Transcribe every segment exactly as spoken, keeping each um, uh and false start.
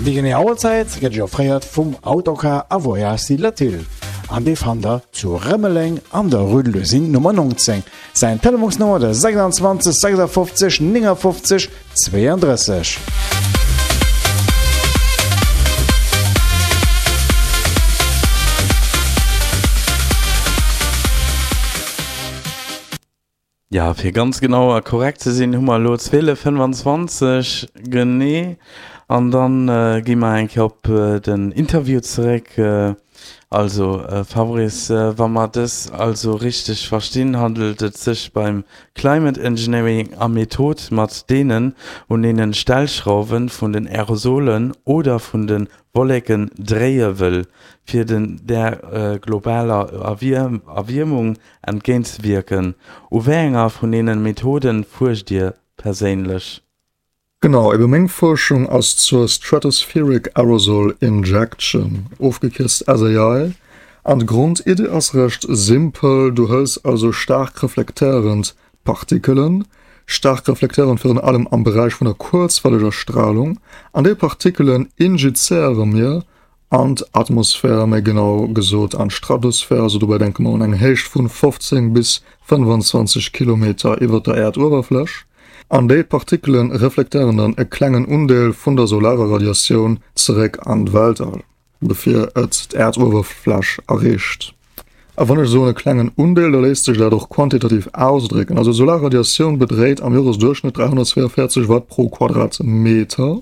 Déi genee Auerzäit gëtt Iech offréiert vum Autocar a Voyages Latil an dee fannt der zu Rëmeleng an der Rue de l'Usine Nummer neunzéng. Säin Telefonsnummer der sechsundzwanzeg sechsundfünfzig neunundfünfzig zweiunddrësseg. Ja, fir ganz genau a korrekt ze sinn, hu mer elo zwielef fënnefanzwanzeg genee. An dann gi mer eng Kéier op den Interview zeréck. Also Fabrice, wa mer dës also richteg verstinn, handelt et sech beim Climate Engineering a Method, mat deenen un een Stellschrauwe vun den Aerosolen oder vun de Wolleken dréie wëll, fir den der globaler Erwiermung entgéintzewierken. U wéi enger vun deene Methoden fuerscht Dir perséinlech? Genau, ebe meng Fuerschung ass zur Stratospheric Aerosol Injection, ofgekierzt S A I. An d'Grondiddi ass recht simpel, du hëls also staark reflektéierend Partikelen, staark reflektéierend virun allem am Beräich vun der kuerzwelleger Strahlung, an déi Partikelen injizéiere mir an d'Atmosphär, méi genau gesot an d'Stratosphär, also dobäi denke mer un eng Héicht vun fofzéng bis fënnefanzwanzeg Kilometer iwwer der Äerduewerfläch. An déi Partikelen reflektéieren dann e klengen Undeel vun der solarer Radiatioun zeréck an d'Weltall, bevir et d'Äerduewerfläch erreecht. A wann ech soen e klengen Undeel, da léisst sech dat och quantitativ ausdrécken. Also solar Radiatioun bedréit am Joresduerchschnëtt dräihunnertzweiundvierzeg Watt pro Quadratmeter.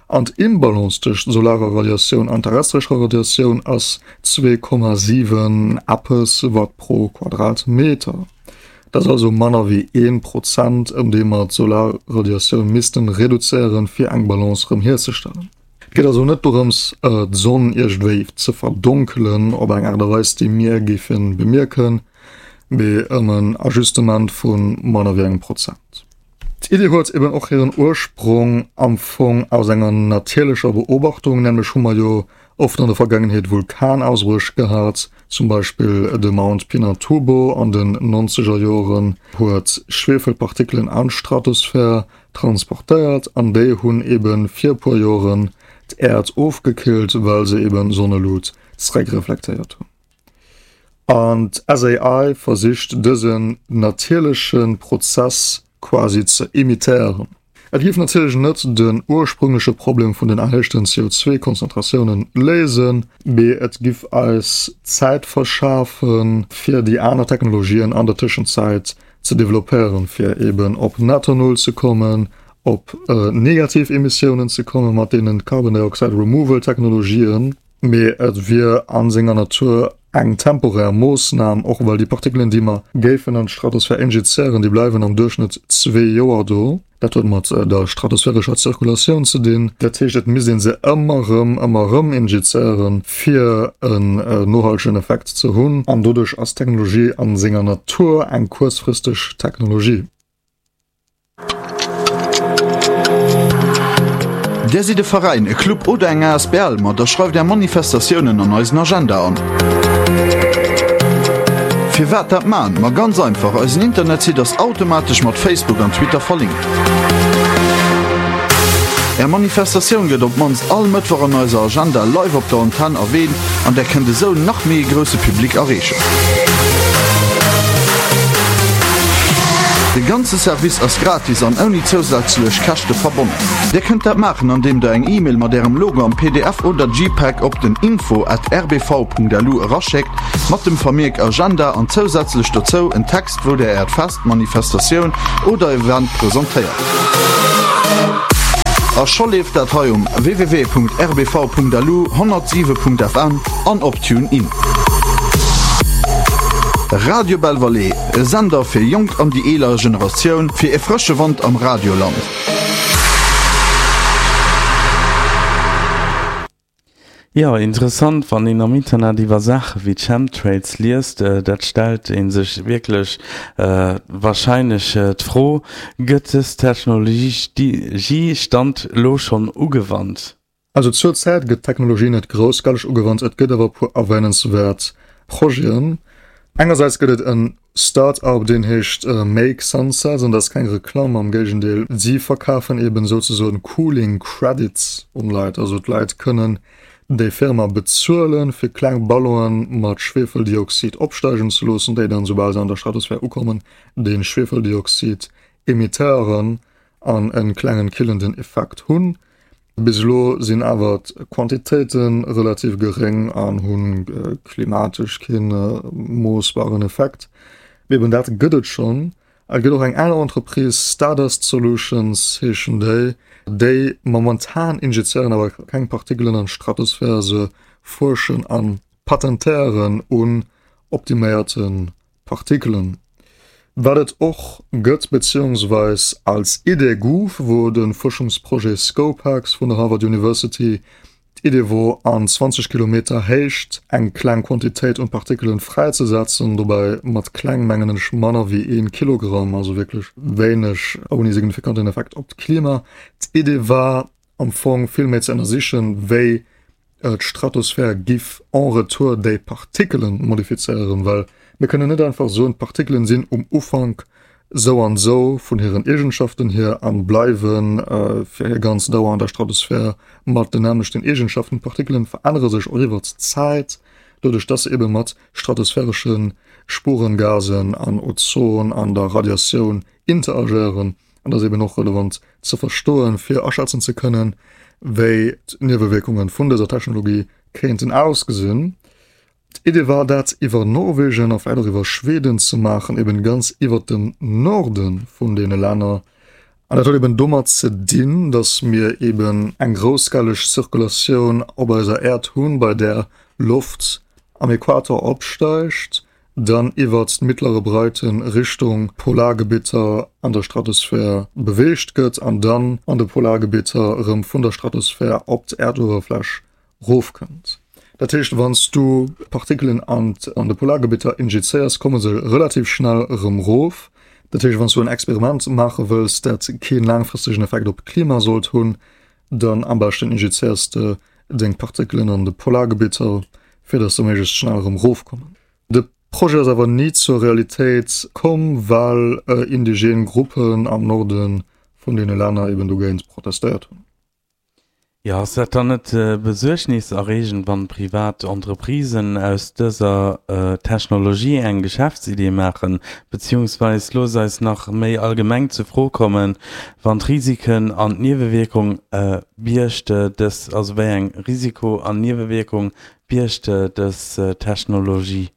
An d'Imbalance tëscht solarer Radiatioun an terrestrescher Radiatioun ass zwee Komma siwen eppes Watt pro Quadratmeter. Dat ass also manner wéi een Prozent, ëm dee mer d'Solarradiatioun missten reduzéieren, fir eng Balance erëm hierzestellen. Et geet also net dorëms, d'Sonn iergendwéi ze verdonkelen op eng Aart a Weis, déi mir géifen bemierken, mee ëm en Ajustement vu manner wéi engem Prozent. D'Iddi huet eben och hiren Ursprong am Fong aus enger natierlecher Beobachtung, nämlech hu mer jo oft an der Vergangenheet Vulkanausbréch gehat, zum Beispill de Mount Pinatubo an den nonzeger Joren huet Schwefelpartikelen an d'Stratosphär transportéiert an déi hunn eben fir e puer Joren d'Äerd ofgekillt, well se eben Sonnelut zeréckreflektéiert hunn. An d'S A I versicht dësen natierleche Prozess quasi ze imitéieren. Et géif natierlech net den ursprüngleche Problem vun den erhéichten C O zwei Konzentratiounen léisen, mee et giff eis Zäit verschafen, fir déi aner Technologien an der Tëschenzäit ze developpéieren, fir eben op netto Null ze kommen, op negativ Emissiounen ze kommen mat deenen Carbon Dioxide Removal Technologien, mee et wier an senger Natur eng temporär Moossnam, och well déi Partikelen, déi mer géifen an d'Stratosphär injizéieren, déi bleiwen am Duerchschnëtt zwee Joer do. Dat huet mat der stratosphärescher Zirkulatioun ze dinn. Dat heescht, et misst een se ëmmer erëm, ëmmer erëm injizéieren, fir en nohaltegen Effekt ze hunn. An doduerch ass d'Technologie an senger Natur eng kuerzfristeg Technologie. Dir sidd e Veräin, e Club oder eng A S B L? Ma da schreift Är Manifestatiounen an eisen Agenda an. Firwat dat man? Ma ganz einfach, eisen Internetsite ass automatesch mat Facebook an Twitter verlinkt. Är Manifestatioun gëtt op d'mannst all Mëttwoch an eiser Agenda live op der Antenn erwähnt an där kënnt esou nach méi e grousse Public erreechen. De ganze Service ass gratis an ouni zousätzlech Käschte verbonnen. Dir kënnt dat maachen andeem der eng E-Mail mat ärem Logo am P D F oder JPEG op den info at r b v punkt l u eraschéckt mat dem Vermierk Agenda an zousätzlech dozou en Text wou der äert Fest, Manifestatioun oder Event presentéiert. A scho leeft dat hei um w w w punkt r b v punkt l u, honnertsiwe punkt f m an op TuneIn. Radio Belval, e Sender fir jonk an déi eeler Generatioun, fir e frësche Wand am Radioland. Ja, interessant, wann een am Internet iwwer Saache wéi Chemtrails liest, dat stellt ee sech wierklech wahrscheinlech d'Fro, gëtt dës Technologie Stand lo schonn ugewannt? Also zur Zäit gëtt d'Technologie net groussskaleg ugewannt, et gëtt awer e puer erwähnenswäert Projeten. Engersäits gëtt et en Start-up, deen heescht Make Sunsets, an dat ass keng Reklamm, am Géigendeel, si verkafen eben souzesoen Cooling Credits un Leit. Also d'Leit kënnen déi Firma bezuelen, fir kleng Ballonen mat Schwefeldioxid opsteigen ze loossen, déi dann, soubal se an der Stratosphär ukommen, de Schwefeldioxid emittéieren an e klengen killenden Effekt hunn. Bis elo sinn awer d'Quantitéite relativ geréng an hu klimatesch kee moossbaren Effekt. Mee eben dat gëtt et schonn. Et gëtt och eng aner Entreprise, Stardust Solutions heeschen déi, déi momentan injizéieren awer keng Partikelen an d'Stratosphär, se fuerschen a patentéieren un optiméierte Partikelen. Wat et och gëtt, beziehungsweis als Idee gouf, wor de Fuerschungsprojet SCoPEx vun der Harvard University. D'Idee wor, an zwanzeg Kilometer Héicht eng kleng Quantitéit un Partikelen fräizesetzen. Dobäi mat kleng mengen ech manner wéi een Kilogramm, also wierklech wéineg, ouni signifikanten Effekt op d'Klima. D'Idee war am Fong vill méi ze ënnersichen, wéi d'Stratosphär giff en retour déi Partikelen modifizéieren, well mir kënnen net einfach soen, d'Partikelen sinn um Ufank sou an sou vun hiren Eegenschaften hier an bleiwen fir hir ganz Dauer an der Stratosphär mat den nämmlechten Eegenschaften. D'Partikelen verännere sech och iwwert d'Zäit, doduerch dass se ebe mat stratosphäresche Spurengasen an Ozon an der Radiatioun interagéieren. An dat ass eben och relevant ze verstoen, fir aschätzen ze kënnen, wéi d'Niewewierkunge vun dëser Technologie kéinten ausgesinn. D'Idee war, dat iwwer Norwegen a vläicht och iwwer Schweden ze maachen, eben ganz iwwer dem Norde vun deene Länner. An dat huet eben domat ze dinn, datt mir eben eng groussskaleg Zirkulatioun op eiser Äerd hunn, bei där Loft am Äquator opsteigt, dann iwwert d'mittlere Breiten Richtung Polargebitter an der Stratosphär beweegt gëtt an dann an de Polargebitter erëm vun der Stratosphär op d'Äerduewerfläch rofkënnt. Dat heescht, wann s du Partikelen an an de Polargebitter injizéiers, komme se relativ schnell erëm rof. Dat heescht, wann s du en Experiment maache wëlls, dat kee laangfristegen Effekt op d'Klima sollt hunn, dann am beschten injizéiers de deng Partikelen an de Polargebitter, fir datt se méiglechst schnell erëm rofkommen. De Projet ass awer ni zur Realitéit komm, well indigen Gruppen am Norde vun deene Länner eben dogéint protestéiert hunn. Jo, ass dat dann net besuergniserreegend, wann privat Entreprisen aus dëser Technologie eng Geschäftsidee maachen? Beziehungsweis looss eis nach méi allgemeng zur Fro kommen, wann d'Risiken an d'Niewewierkung biergt dës, also wéi eng Risiko an Niewewierkung biergt dës Technologie?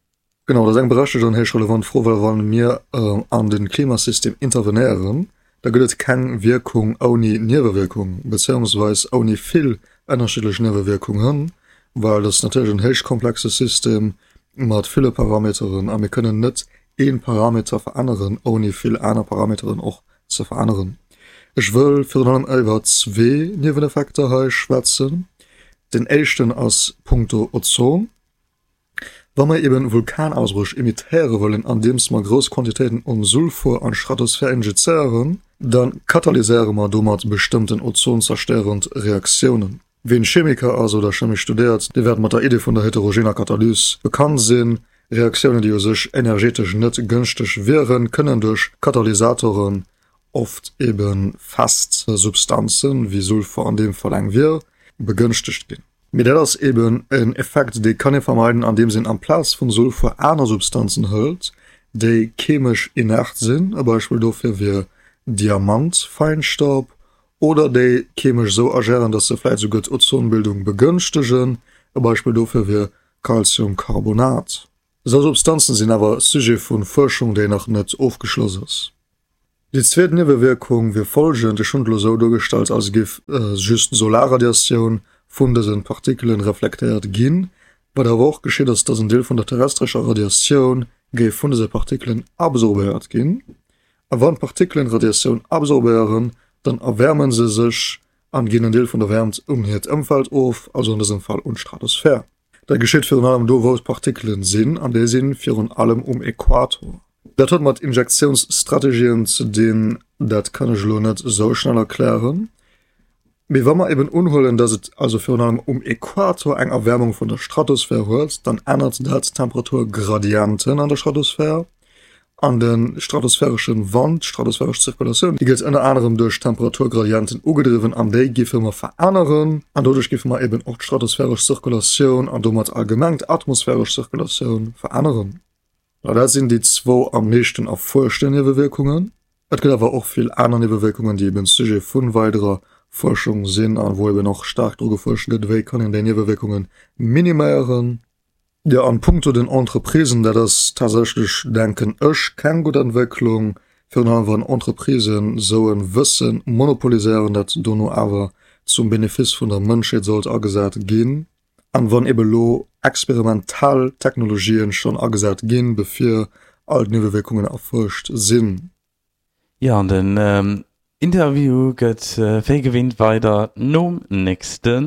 Genau, dat ass eng berechtegt an héich relevant Fro, well wa mir an de Klimasystem intervenéieren, da gëtt et keng Wierkung ouni Niewewierkung, bezéiungsweis ouni vill ënnerschiddlech Niewewierkungen, well dat ass natierlech en héich komplexe System mat ville Parameteren a mir kënnen net ee Parameter veränneren, ouni vill aner Parameteren och ze veränneren. Ech wëll virun allem iwwer zwee Nieweneffekter hei schwätzen. Den éischten ass punkto Ozon. Wa mer eben Vulkanausbréch imitéiere wëllen andeems mer grouss Quantitéiten un Sulfur an d'Stratosphär injizéieren, da katalyséiere mer domat bestëmmten ozonzerstéierend Reaktiounen. Ween Chemiker ass oder Chemie studéiert, dee wäert mat der Idee vun der heterogener Katalys bekannt sinn. Reaktiounen, déi u sech energetesch net gënschteg wieren, kënnen duerch Katalysatoren, oft eben fest Substanzen, wéi Sulfur an deem Fall eng wier, begënschtegt ginn. Mee dat ass eben en Effekt, dee kann ee vermeiden, andeems een amplaz vum Sulfur aner Substanzen hëlt, déi chemesch inert sinn, e Beispill dofir wier Diamantfeinstaub, oder déi chemesch esou agéieren, datt se vläit esouguer d'Ozonbildung begënschtegen, e Beispill dofir wier Calciumcarbonat. Esou Substanzen sinn awer Sujet vu Fuerschung, déi nach net ofgeschloss ass. Déi zweet Niewewierkung wier folgend, Ech hunn et elo esou duergestallt, als géif just d'Solarradiatioun vun dëse Partikelen reflektéiert ginn. Wat awer och geschitt, ass, dass en Deel vun der terrestrescher Radiatioun géif vun dëse Partikelen absorbéiert ginn. A wann d'Partikelen Radiatioun absorbéieren, dann erwäerme se sech an ginn en Deel vun der Wäermt un hiert Ëmfeld of, also an dësem Fall un d'Stratosphär. Dat geschitt virun allem do, wou d'Partikelen sinn, an déi si virun allem um Äquator. Dat huet mat Injektiounsstrategien ze dinn, dat kann ech elo net esou schnell erklären. Mee wa mer eben unhuelen, dass et also virun allem um Äquator eng Erwäermung vun der Stratosphär huet, dann ännert dat d'Temperaturgradienten an der Stratosphär. An de stratosphäresche Wand, d'stratosphäresch Zirkulatioun, déi gëtt ënner anerem duerch Temperaturgradienten ugedriwwen an déi géife mer veränneren. An doduerch géife mer eben och d'stratosphäresch Zirkulatioun an domat allgemeng d'atmosphäresch Zirkulatioun veränneren. Mä dat sinn déi zwou am meeschten erfuerschte Niewewierkungen. Et gëtt awer och vill aner Niewewierkungen, déi eben Sujet vu weiderer Fuerschung sinn a wou eben och staark dru gefuerscht gëtt, wéi kann een déi Niewewierkunge miniméieren. Jo, an punkto den Entreprisen, dat ass tatsächlech, denken ech, keng gutt Entwécklung, virun allem wann Entreprisen esou e Wësse monopoliséieren, dat dono awer zum Benefice vun der Mënschheet sollt agesat ginn, an wann ebe lo experimentell Technologien schonn agesat ginn, bevir all d'Niewewierkungen erfuerscht sinn. Jo, an den Interview gëtt wéi gewinnt weider nom nächste